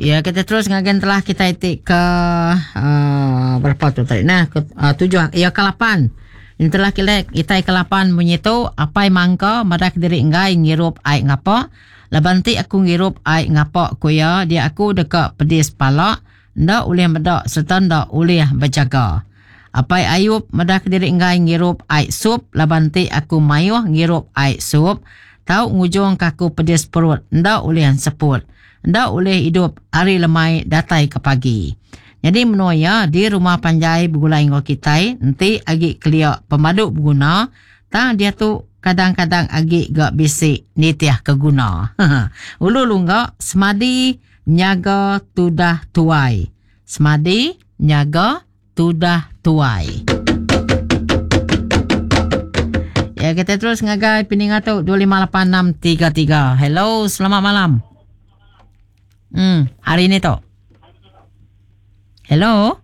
Ya kita terus ngagai telah kita ti ke uh, berapa tu tadi nah ke uh, tujuh ya ke lapan. Entelah kita kita ke lapan munyi tu apai mangka madah kediri enggai ngirup ai ngapa laban ti aku ngirup ai ngapa ku iya dia aku deka pedis pala enda ulih meda sereta enda ulih bejaga. Apai Ayub madah kediri enggai ngirup ai sup laban ti aku mayuh ngirup ai sup tau ngujungka aku pedis perut enda ulih enseput. Enda ulih idup ari lemai datai ke pagi. Nyadi menua iya di rumah panjai begulai enggau kitai enti agi kelia pemadu beguna tang diatu kadang-kadang agi ga bisi nitih ke guna. Ulu lungga semadi nyaga tudah tuai. Semadi nyaga tudah tuai. Ya kita terus ngagai peninga tu 258633. Hello, selamat malam. Hmm, hari ni tu. Hello.